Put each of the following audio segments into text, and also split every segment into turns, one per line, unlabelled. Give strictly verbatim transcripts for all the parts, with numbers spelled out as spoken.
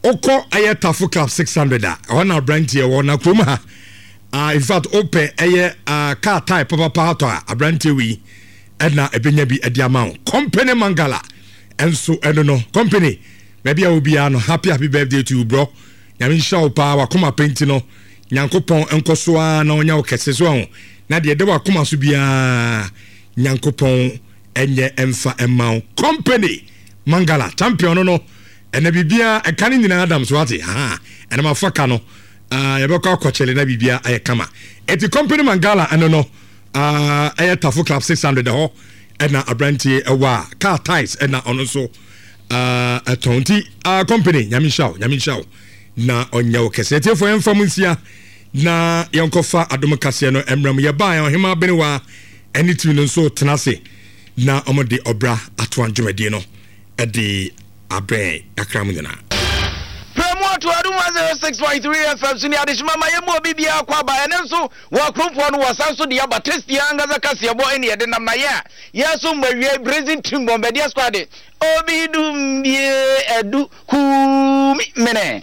Wokɔ ɛyɛ Tafo Club six hundred a, ɛhɔ na aberanteɛ wɔ na kurom ha. Uh, in fact, wopɛ ɛyɛ uh, car tyre papapa atɔ a, aberanteɛ wei ɛna ɛbɛnya bi ɛde ama wo. Company Mangala ɛnso ɛno no company baabi a obiara no, happy happy birthday to you, bro. Nyame nhyira wo paa. Wakoma penti no, Nyankopɔn nkɔ so ara na ɔnya wo kɛse so aho na deɛ ɛda wakoma so biara, Nyankopɔn ɛnyɛ ɛmfa ɛma wo. Company Mangala champion no no ɛna biribiara ɛka no nyinaa dam so ate ha. Ɛna mafa ka no, uh, yɛbɛkɔ akɔkyɛle na biribiara ayɛ kama. Ɛti Company Mangala ɛno no, uh, ɛyɛ Tafo Club six hundred ɛhɔ ɛna aberanteɛ ɛwɔ a car tyres ɛna ɔno nso uh, ɛtɔn. Nti uh, company, Nyame nhyira wo, Nyame nhyira wo na ɔnyɛ wo kɛse. Atiefoɔ, yɛmfa mu nsia na yɛnkɔfa adom kaseɛ no mmerɛ mu. Yɛbaa yɛn ɔhema benewa ɛne timi no nso tena ase na ɔmode ɔbra atoa dwumadie no ɛde abrɛ akra mu nyinaa.
Pɛmu ato Adom one oh six point three F M so ne adehyema ma yɛmu obi biara kɔ aba. Ɛno nso wɔ akuromfoɔ no wɔsan so de aba tasty ankasa kaseɛbɔ ɛne yɛde nam na yɛ a yɛso mmɔ awie Brazil team Bombardier squad obi dum bie adu kumi mene.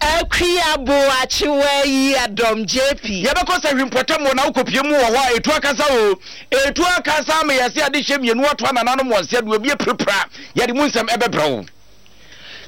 Akua Boakyewa yi adɔm J P.
Yɛbɛkɔ sɛ hwimpɔtam wɔ na wokɔpie mu wɔ hɔ a ɛtu akasa o, ɛtu akasa ama yɛse ade hyɛ mmienu ato anananom wɔn sɛ de obi apirapira. Yɛde mu nsɛm ɛbɛbrɛ wo.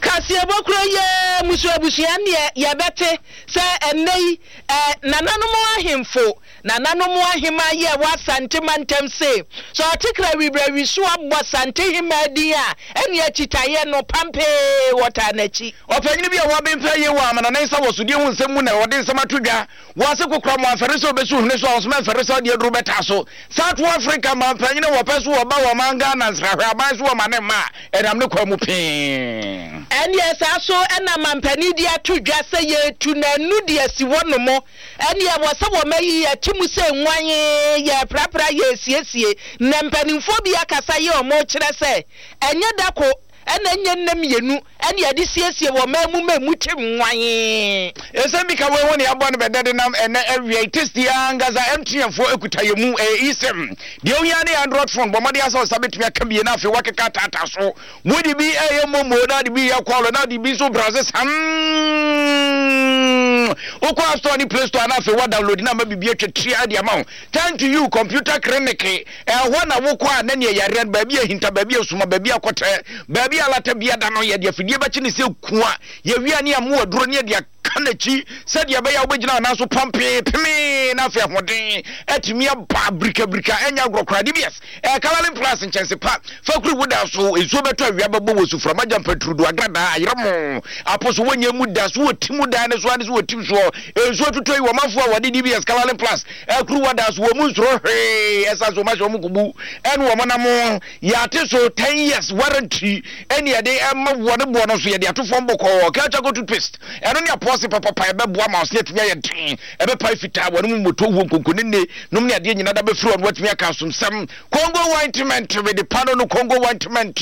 Kaseɛbɔ kuro yɛ musu abusua neɛ yɛbɛte sɛ ɛnnɛ yi ɛ nananom ahemfo, nananom ahema yɛ wɔ Asante mantam se sɛ ɔte krawibrawi so abɔ Sante hema din a, ɛne akyitaeɛ no pampee wɔtaa n'akyi.
Ɔpanyini bi a wɔabɛmfa yie wɔ amana ne nsa wɔ sodie ho nsɛm mu na wɔde nsɛm ato dwa wɔ ase kokora mo amfɛre sɛ wobɛsi hwene so a ɔsoma mfɛre sɛ ɔde aduru bɛtaa so. South Africa mampanyini wɔpɛ so wɔba wɔ man Ghana nsrahwɛ aban so wɔma ne mma a ɛnam ne kwa mu pee.
Ɛneɛ saa so ɛna mampanin de ato dwa sɛ yɛtu n'anu de asi hɔ nom. Ɛneɛ wɔ sɛ wɔma yi yɛte mu sɛ nwan yɛprapra yɛsiesie na mpanimfoɔ bi akasa yɛ ɔmo kyerɛ sɛ ɛnyɛ da ko ɛna ɛnyɛ nna mmienu ɛne yɛde siesie wɔ man mu ma mu te nwan.
Ɛsɛm bi ka wei ho ne yɛabɔ no bɛdɛ de nam ɛnɛ awia. Tasty ankasa M T N foɔ ekuta yɛ mu. Ɛyɛ eSIM deɛ ohia ne Android phone. Bɔ mmɔden asɛ ɔsa bɛtumi aka bie na afei wakeka taataa so. Wode bi ɛyɛ momo na de bi yɛ call na de bi nso browse sam. Wokɔ App Store ne Play Store na afei wa download na ama biribi atwa tia de ama wo. Time to You Computer Clinic, ɛhɔ na wokɔ a na neɛ yareɛ no baabi ahinta, baabi asuma, baabi akɔtɛ, baabi alata biada no, yɛde afidie bɛkye ne sɛ kua yɛwia ne amo aduro ne yɛde aka n'akyi sɛdeɛ ɛbɛyɛ a wobɛgyina anaa so pɔmpee pemee na afei ahoɔden atumi aba birikabirika. Ɛnyɛ agorɔ koraa. D B S ɛkalalin Plus nkyɛnse pa fakuri woda so nsuo bɛtɔ, awia bɛbɔ wɔ suframa gya mpaturudu agradaa ayerɛ mo apo so wɔnyɛ mu da so wɔ ti mu dan ne so ane so wɔ tim soɔ nsuo tutɔ yi. Wɔmanfoɔ a wɔde D B S kalalin Plus akuru wada so wɔ mu nsoro hwee ɛsan so wɔmahyɛ wɔn kubu ɛne wɔn nam yɛate so ten years warranty ɛne yɛde ɛma wɔ ne boɔ no so yɛde ato fam bɔkɔɔ. Kɛkyɛ toothpaste, ɛno ne apɔse papapa ɛbɛboa ma ɔsene atumi ayɛ den, ɛbɛpae fitaa wɔne mu mmɔtɔ wuo nkonkonene nom ne adeɛ nyina da bɛfiri ɔno watumi aka asomsɛm. Congo ointment wede pa no no Congo ointment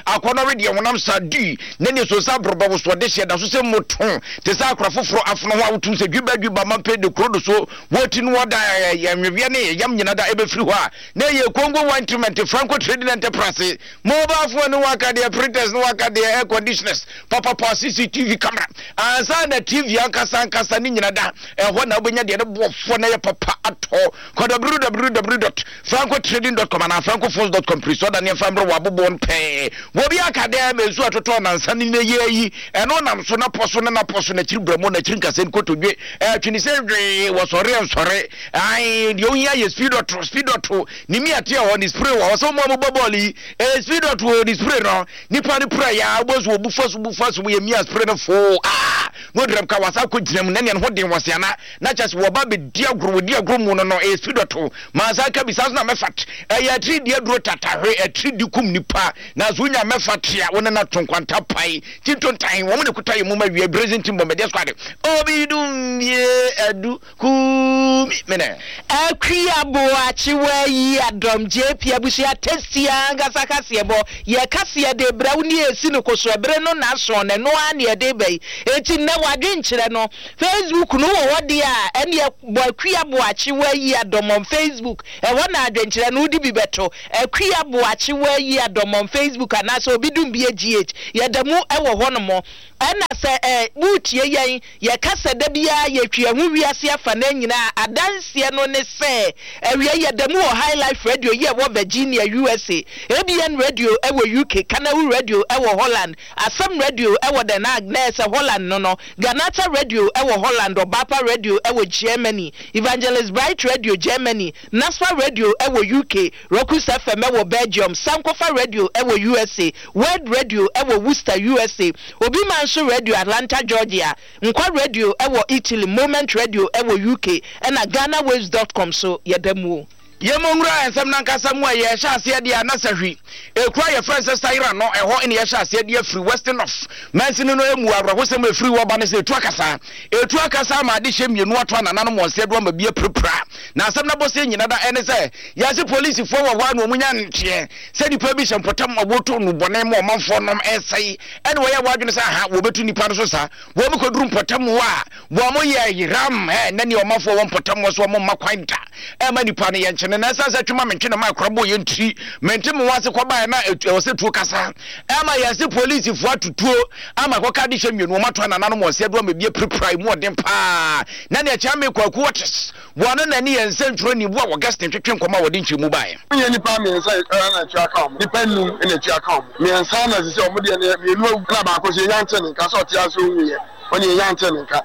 akɔnɔ wedeɛ honam sa di na ne so nsa aborɔbɔ wo so ɔde hyɛ da so sɛ mmoto te sɛ akora foforɔ afono ho a wotum sɛ dwiba dwiba mampɛ de kuro do so wɔti no wɔda ɛnweweɛ ne yam nyina da ɛbɛfiri hɔ a na ɛyɛ Congo ointment. Franco Trading Enterprise, mobile phone ne waka deɛ, printers ne waka deɛ, air conditioners papapa, C C T V camera ansa na T V ankasa ankasa ne nyina da ɛhɔ na wobɛnya deɛ ne boɔfoɔ na yɛ papa atɔ. Kɔ W W W dot francotrading dot com anaa francophones dot com piri sɛ ɔda ne ɛmfa mmerɛ wɔ aboboɔ no pɛɛ. Wɔbi aka dɛ ma nsu atotɔ nansa ne ne yɛ yi ɛno nam so napɔ so ne napɔ so n'akyiri brɛmo n'akyiri nkasɛ nkotodwe ɛtwene sɛ hwee wɔsɔre ɛnsɔre ae. Deɛ ohia yɛ speed dot, speed dot ne mi ate hɔ ne spray wɔ hɔ sɛ wɔn a wɔbɔ bɔɔl yi ɛyɛ speed dot wɔ ne spray no nipa ne pura ya wobɔ so wɔbu fa so bu fa so yɛ mia spray no foo aa na ɔdram ka wasa akɔ gyina mu na nea ne ho den wɔse ana na kyɛ sɛ wɔba bɛdi agorɔ wɔdi agorɔ mu no no ɛyɛ speed dot mansa ka bi saa so na mɛfat ɛyɛ atiri di aduro tatahwe atiri di kum nipa na so wonya mɛfa tea wo ne na to nkwanta pae ti ntontan wɔn ne kuta yɛ mu ma wie Brazil team bɔmbɛdeɛ squad obi dum bie adu kumi mene.
Akua Boakyewa yi adɔm J P abusua tasty ankasa kaseɛbɔ yɛ kaseɛ de brɛ wo ne esi no koso ɛbere no n'ason na ɛno ara ne ɛde ba yi. Eti nnɛ wadwenkyerɛ no Facebook no wɔ hɔ deɛ a, ɛneɛ bɔ Akua Boakyewa yi adɔm on Facebook. Ɛhɔ na adwenkyerɛ no wode bi bɛto. Akua Boakyewa yi adɔm on Facebook anaasɛ obi dum bi G H yɛda mu ɛwɔ hɔ nom. Ɛna sɛ ɛ woretie yɛn, yɛka sɛ da biara yɛtwi yɛn ho wiase afanan nyinaa a, adanseɛ no ne sɛ awia yi yɛda mu wɔ High Life Radio yi a ɛwɔ Virginia, U S A, A B N Radio wɔ U K, Kanawu Radio wɔ Holland, Asɛm Radio wɔ Den Haag, na ɛyɛ sɛ Holland no no, Ghanata Radio wɔ Holland, Ɔbaapa Radio wɔ Germany, Evangelist Bright Radio, Germany, Nasfa Radio wɔ U K, Rokus F M wɔ Belgium, Sankofa Radio wɔ U S A, Word Radio wɔ Worcester, U S A, Obi Manso Radio, Atlanta, Georgia, Nkwa Radio wɔ Italy, Moment Radio wɔ U K, ɛna Ghana Waves dot com so yɛda mu o.
Yɛmmɔ nwura nsɛm nankasa mu a yɛhyɛ aseɛ deɛ a na sahwi ekura yɛfrɛ sɛ Sayera no, ɛhɔ ne yɛhyɛ aseɛ deɛ firi Western North mansini no emu. Awerɛhosɛm efiri wɔ ba ne sɛ etu akasa etu akasa ama ade hyɛ mmienu ato anananom wɔn nsa do ama bi apirapira. Na asɛm no abɔseɛ nyina da ɛne sɛ yɛase polisifoɔ wɔ hɔ a na wɔn nya nteɛ sɛ nipa bi hyɛ mpɔtam a wɔto no bɔne ma ɔmanfoɔ nom ɛsɛe, ɛne wɔyɛ wɔadwene sɛ aha wɔbɛtu nipa no so sa wɔn kɔduru mpɔtam hɔ a wɔn yɛ yeram ɛ na nea ɔmanfoɔ wɔ mpɔtam hɔ so wɔn mma kwan da ɛma nipa no yɛ nkyene. Na ɛsan sɛ twema mentwe ne ma akora bɔ yɛn tiri mente mo ase kɔbaeɛ na ɛwɔ sɛ tuo kasa ɛma yɛse polisifoɔ atutuo ama kɔka de hyɛ mmienu wɔn ato anananom wɔn sɛ do ama bi apirapira mu ɔden paa. Na nea kyɛn me Kwaku Wɔtes wɔn na ne yɛn nsɛntwerɛ ni bu a Augustine twetwe nkɔmɔ a wɔde nkyɛn baeɛ.
Nyɛ nipa mmiɛnsa na atua ka wɔn, nipa nnum na atua ka wɔn. Mmiɛnsa na sisi wɔn deɛ no mmienu awu na baako so yɛnya nte ne nka sɛ ɔte ase onwuyɛ, wɔn yɛnya nte ne nka.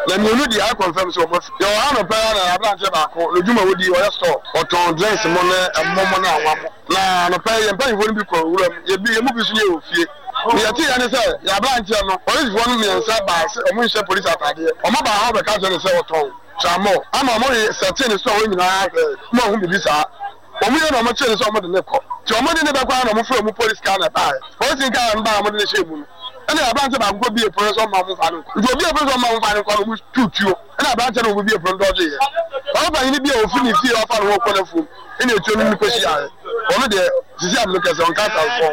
Na mmienu deɛ ayɛ confirm sɛ wɔn afi. Yɛwɔ ha nɔpɛ ya na aberanteɛ baako n'odwuma wodi, ɔyɛ store, ɔtɔn drinks mo ne ɛmo mo ne anwa mo. Na nɔpɛ yɛn mpanyinfoɔ no bi kɔ nwura mu, yɛbi yɛn mu bi nso yɛ wɔ fie. Ne yɛte yɛ ne sɛ yɛ aberanteɛ no, polisifoɔ no mmiɛnsa baa sɛ ɔmo nhyɛ polisi ataadeɛ. Ɔmo baa hɔ bɛka kyerɛ ne sɛ ɔtɔn tramɔ ama ɔmo yɛ sɛte ne store hɔ nyinaa hwɛ mo ahu bibi saa. Ɔmo yɛ na ɔmo kyerɛ ne sɛ ɔmo de ne kɔ, nti ɔmo de ne bɛkɔ a na ɔmo fira ɔmo polisi car na ɛbaeɛ. Polisi car no baa, ɔmo de ne hyɛ mu no, ɛna aberanteɛ baako kɔ bie pono sɛ ɔmo ɔmo fa no nkɔ. Nti obi pono sɛ ɔmo ɔmo fa no nkɔ no, ɔmo tu tuo, ɛna aberanteɛ no ɔmo bie pono dɔgye yɛ ɔmo panyin bi a ofiri ne fie ɔfa ne ho kɔ n'afuom, ɛna etuo no ne kɔ hyia yɛ. Ɔno deɛ sisi amino kɛse ɔnka asanfo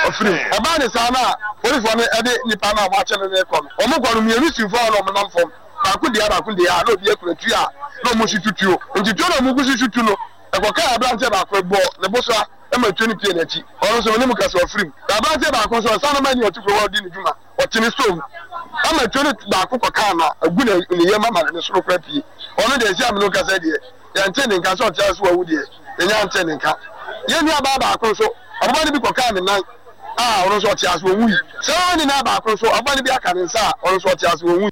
ɔfiri mu. Ɛbaa ne saa na polisifoɔ no ɛde nipa no a ɔmo akyɛ no ne kɔ no, ɔmo kɔ no mmienu si fam na ɔmo nam fam, baako deɛ baako deɛ a na obi akura tuo a na ɔmo si tutuo. Nti tuo na ɔmo gu si tutu no ɛkɔka aberanteɛ baako bɔ ne bo so a ɛma tuo no pie n'akyi. Ɔno nso ne mu kɛse ɔfiri mu. Na aberanteɛ baako nso ɔsan no ma ni ɔte kuro hɔ ɔdi ne dwuma, ɔte ne store mu ama tuo no baako kɔkaa na agu ne ne yam ama ne soro kora pie. Ɔno deɛ esi amino kasa deɛ yɛnte ne nka sɛ ɔte ase wawu deɛ, yɛnya nte ne nka. Yɛn nua baa baako nso ɔbɛba no bi kɔkaa ne nan a ɔno nso ɔte ase wɔn yi. Sɛ ne nan baako nso ɔbɛba no bi aka ne nsa a ɔno nso ɔte ase wɔn yi.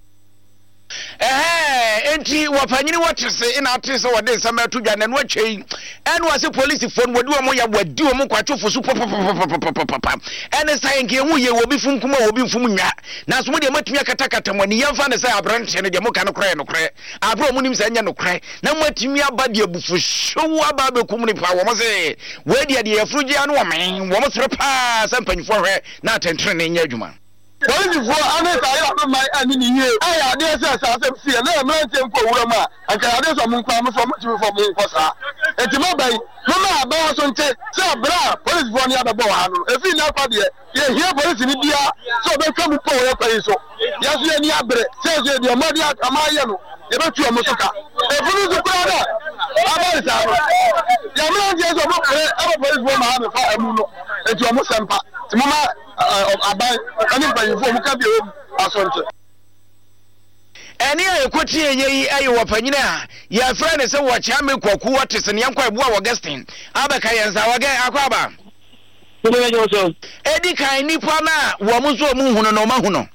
Ɛhɛn, enti wɔpanyini wɔte se na ate sɛ wɔde nsɛm ɛto dwa n'ano atwa yi, ɛne wɔse polisifoɔ no wɔdi wɔn yɛ wɔadi wɔn nkwatwofo so papapapapapapa. Ɛne sɛ nka ɛhu yɛ obi fom kuma obi mfom nwa, nanso mo deɛ moatumi akatakata mo ani. Yɛmfa ne sɛ aberanteɛ no deɛ moka no korɛ yɛ nokorɛ aberɛ a ɔmo nim sɛ ɛnyɛ nokorɛ na moatumi aba deɛ abufuhyew aba abɛkum nipa. Wɔn se wei deɛ deɛ yɛforo gyea no wɔmɛn wɔn sere paa sɛ mpanyinfoɔ hwɛ na atɛntene nyɛ adwuma.
Polisifoɔ ane saa yɛ ɔno man ani ne yie ɛyɛ adeɛ sɛ saa asɛm si yɛ na yɛ mmeranteɛ nkɔ wura mu a anka yɛ adeɛ sɛ ɔmo nkɔ ɔmo so ɔmo tumi fɔ ɔmo nkɔ saa. Nti mo bɛyi moma abɛn so nte sɛ abere a polisifoɔ no yɛabɛbɔ wɔ ha no, efi nna kɔ deɛ yɛhia polisi ni bia sɛ ɔbɛtwa mu pɔ wɔ yɛ kwan yi so. Yɛso yɛni abere sɛ yɛso yɛdeɛ ɔmo ade ɔmo ayɛ no yɛbɛtu ɔmo so ka. Efunu nso koraa na abɛn saa no yɛ mmeranteɛ sɛ ɔmo pere ɛbɛ polisifoɔ ma ha bɛfa ɛmu no, nti ɔmo sɛmpa nti moma aban ɛne mpanyinfoɔ ɔmo ka bi a ɛwɔ mu asɔnte.
Ɛne a ɛkɔtie yɛ yi ɛyɛ wɔ panyini a yɛfrɛ ne sɛ wɔkyea me Kwaku wɔte se neɛnkɔ ɛboa Augustine abɛka yɛn nsa wɔgɛ akɔ aba. Ɛdi kan nnipa no a wɔn nso ɔmo hunu no ɔmo ahu no.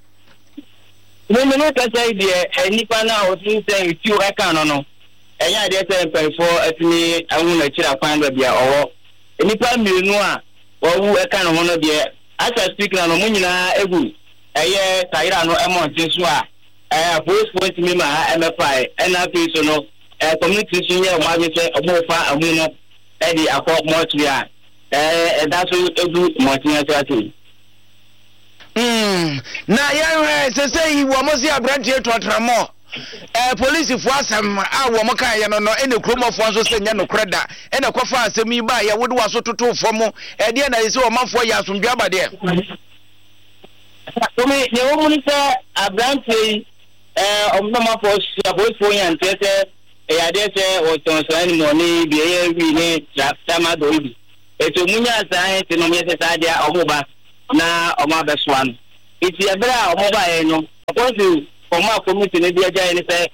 Mímu no kasa yi deɛ, nipa no a ɔtumi sɛ etuo ɛka no no ɛnyɛ adeɛ sɛ mpanyinfoɔ atumi ahu n'akyiri akwan baabi a ɔwɔ. Nipa mmienu a wɔwu ɛka ne ho no deɛ, as I speak na no, ɔmo nyinaa egu ɛyɛ Sayera no ɛmɔnten so a ɛɛ apolisifoɔ ntumi ma ha ɛmɛfae. Ɛna afei so no ɛɛ community nso nyɛ ɔmo adwene sɛ ɔmo fa amu no ɛde akɔ mortuary a ɛɛ ɛda so egu mmɔnten ase ase.
Mm, na yɛhwɛ sɛ sɛ yi wɔn se aberanteɛ tɔtramɔ ɛɛ polisifoɔ asɛm a wɔn kaeɛ no no ɛna kuromɔfoɔ nso sɛ nyɛ nokorɛ da ɛna kɔfa asɛm yi ba yɛ wode waso toto fam ɛdeɛ na yɛ sɛ ɔmanfoɔ yɛ asomdwe aba deɛ.
Omi deɛ wɔn mu ni sɛ aberanteɛ yi ɛɛ ɔmɔmafoɔ si apolisifoɔ nya nteɛ sɛ ɛyɛ adeɛ sɛ wɔtɔn saa anim ɔne bi ɛyɛ wi ne tramadol yi bi. Etu ɔmo nya saa ɛnti no ɔmo yɛ sɛ saa deɛ ɔmo ba na ɔmo abɛsoa no. Eti ɛberɛ a ɔmo baeɛ no, ɔkɔsi ɔmo a community no de agya yɛ ne sɛ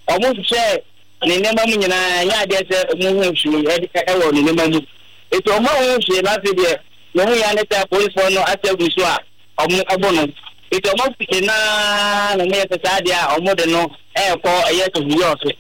ɔmo hyehyɛ ne nneɛma mu nyinaa, ɛnyɛ adeɛ sɛ ɔmo hu hwee ɛwɔ ne nneɛma mu. Eti ɔmo ahu hwee no, afei deɛ ne ho yɛ ne sɛ apolisifoɔ no ate agu so a ɔmo ɛbɔ no. Eti ɔmo fiti naa na ɔmo yɛ sɛ saa deɛ a ɔmo de no ɛɛkɔ ɛyɛ sɛbi ɔso.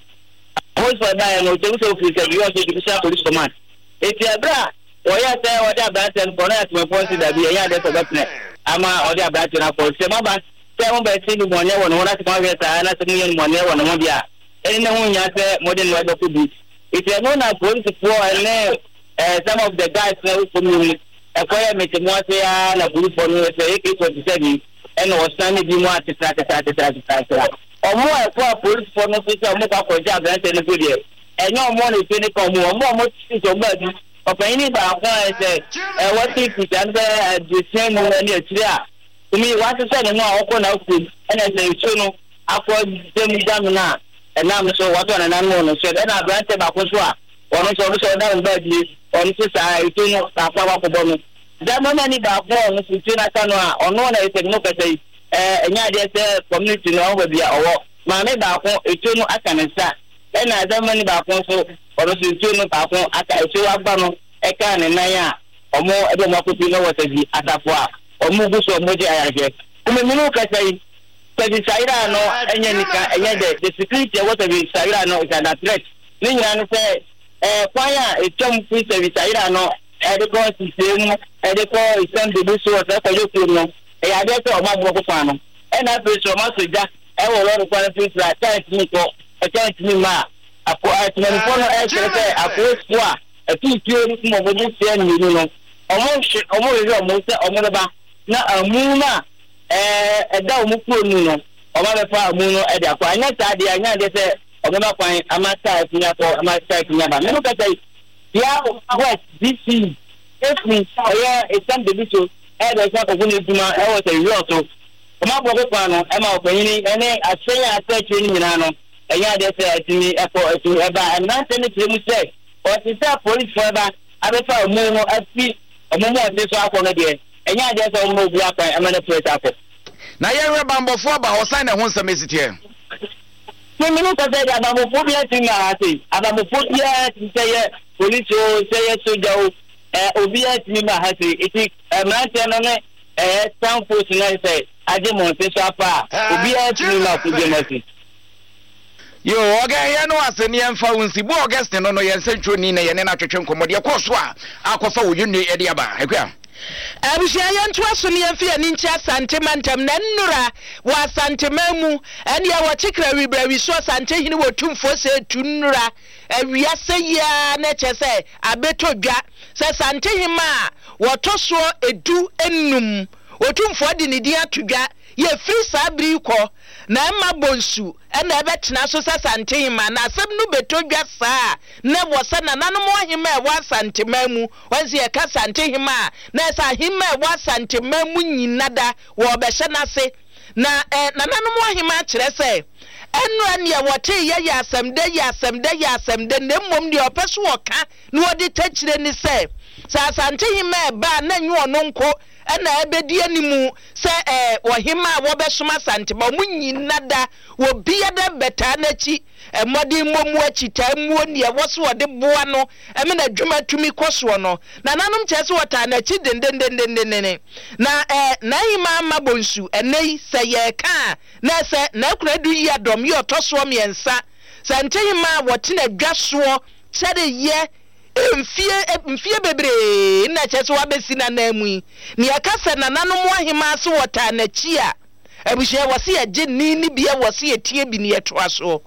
Apolisifoɔ baeɛ no, ɔtɛm sɛ ofiri sɛbi ɔso Divisional Police Command. Eti ɛberɛ a wɔyɛ sɛ wɔde aberanteɛ no kɔ no, atemafoɔ nso dabi, ɛnyɛ adeɛ sɛ ɔbɛpene ama ɔde aberanteɛ no akɔ. Sɛ maba sɛ mobɛsi no bɔne wɔ ne ho na sɛ moahwɛ saa na sɛ moyɛ no bɔne wɔ ne ho deɛ a, ɛne ne ho nya sɛ mode no ɛbɛkɔ bi. Eti ɛno na polisifoɔ ne ɛɛ some of the guys na ɛwɔ fam no mu ɛkɔyɛ mete mu ase ya na polisifoɔ no sɛ A K forty seven ɛna ɔsan ne bi mu atetera tetera tetera tetera. Ɔmo a ɛkɔ a polisifoɔ no nso sɛ ɔmo kɔ akɔgye aberanteɛ no so deɛ, ɛnyɛ ɔmo na efe ne ka ɔmo ɔmo a ɔmo te sɛ ɔmo baabi. Ɔpanyin baako a ɛsɛ ɛwɔ ti kuta no bɛ aduosia mu ne akyire a tumi wasesɛ ne ho a ɔkɔ n'afuom, ɛna sɛ nsuo no akɔ dɛm dam no a ɛnam so wɔtɔ ne nan mu no so, ɛna aberanteɛ baako nso a ɔno nso ɔno nso ɔda ne baabi, ɔno nso saa nsuo no baako akɔbɔ no. Zamani baako a ɔno nso nsuo no aka no a ɔno na ɛsɛ no kasa yi, ɛɛ ɛnyɛ adeɛ sɛ community no ɔwɔ baabi a ɔwɔ. Maame baako nsuo no aka ne nsa, ɛna zamani baako nso ɔno nso nsuo no baako aka nsuo aba no ɛka ne nan a ɔmo ɛde ɔmo akɔpi no wɔ sɛbi asafo a ɔmo gu so ɔmo gye ayarehwɛ. Kumeminu kasa yi, sɛbi sayira no ɛnyɛ nika, ɛnyɛ dɛ the security ɛwɔ sɛbi sayira no is under threat. Ne nyinaa no sɛ ɛɛ kwan a etwam firi sɛbi sayira no ɛde kɔ sisee mu ɛde kɔ esɛm bebi so ɔsɛ kɔyɛ kurom no, ɛyɛ adeɛ sɛ ɔmo aborɔfo kwan no, ɛna afei so ɔmo asɔ gya ɛwɔ lɔri kwan mfimfini a kyɛn tumi kɔ ɛkyɛn tumi ma a akɔ ɛtumanifoɔ no ɛkyerɛ sɛ apolisifoɔ a ɛtutuo no mu ɔmo de seɛ mmienu no, ɔmo hwɛ ɔmo hwehwɛ ɔmo sɛ ɔmo bɛba na amu no a ɛɛ ɛda ɔmo kuro mu no, ɔmo abɛfa amu no ɛde akɔ. Anyɛ saa deɛ, anyɛ adeɛ sɛ ɔmo bɛ kwan ama saa ɛtumi akɔ ama saa ɛtumi aba. Mɛmu kasa yi, bia West D C efiri ɛyɛ esɛm bebi so ɛyɛ sɛ akɔkɔ ne adwuma ɛwɔ sɛ wia so ɔmo abɔ kwan no ɛma ɔpanyin ɛne ahyɛn a asɛ akyire no nyinaa no, ɛnyɛ adeɛ sɛ ɛtumi ɛkɔ ɛtumi ɛba. Mmeranteɛ no kyerɛ mu sɛ ɔte sɛ apolisifoɔ ɛba abɛfa ɔmo no afi ɔmo mu ɔte so akɔ no deɛ, ɛnyɛ adeɛ sɛ ɔmo obi akwan ɛma no pere akɔ.
Na yɛhwɛ bambɔfoɔ aba hɔ san na ɛho nsɛm esi teɛ.
Mímí ní kɔsɛ de abambɔfoɔ bi ati ma ha se abambɔfoɔ biara ti sɛ yɛ polisi o, sɛ yɛ soja o, ɛ obiara ti ma ha se. Eti mmeranteɛ no ne ɛyɛ sanfo so na sɛ agye mmɔnten so afa a, obiara ti ma ko gyem ase.
Yo, ɔgɛ yɛ no ase ne yɛmfa wo nsi bu Augustine no no yɛn nsɛntwerɛni na yɛne no atwetwe nkɔmmɔ deɛ kɔɔ so a akɔfa wo yɛnne ɛde aba akua.
Abusua, yɛntoa so ne yɛmfi ani nkyɛ Asante mantam. Na nnora wɔ Asanteman mu ɛneɛ wɔkyekra wibrawi so Asantehene wɔ tumfoɔ sɛ etu nnora awiase yia na kyerɛ sɛ abɛtɔ dwa sɛ Santehema a wɔtɔ soɔ edu enum, Otumfoɔ de ne din ato dwa yɛfiri saa bere yi kɔ na ɛma Bonsu ɛna ɛbɛtena so sɛ Santehema. Na asɛm no bɛtɔ dwa saa na wɔ sɛ nananom ahema a ɛwɔ Asanteman mu wɔn sɛ yɛka Santehema a, na ɛsɛ ahema a ɛwɔ Asanteman mu nyina da wɔrebɛhyɛ n'ase. Na ɛ nananom ahema kyerɛ sɛ ɛnora neɛ wɔte yɛ yɛ asɛm dɛ, yɛ asɛm dɛ, yɛ asɛm dɛ, na mmom deɛ ɔpɛ so wɔka na wɔde takyire ne sɛ sɛ Asantehema ɛba a, na nyɛ ɔno nko ɛna ɛbɛdi animu sɛ ɛɛ ɔhema a wɔbɛsom Asantema. Ɔmo nyina da obiara bɛtaa n'akyi mmɔden mmɔ mu akyi taa muo neɛ ɛwɔ so wɔde boa no ɛmɛ na adwuma tumi kɔ soɔ no. Nananom kyerɛ sɛ wɔtaa n'akyi dendendendendenden. Na ɛɛ n'ahema ama Bonsu ɛnɛ yi sɛ yɛreka a, na ɛsɛ n'akuna du yi adɔm yi ɔtɔ soɔ mmiɛnsa sɛ ntehema a wɔtena dwa soɔ kyɛre yɛ mfie mfie bebree na kyerɛ sɛ wabɛsi n'anan mu yi. Nea ɛka sɛ nananom ahema ase wɔtaa n'akyi a, abusua, wɔ se yɛgye ne ne bia wɔ se yɛtie bi ne yɛtoa soɔ.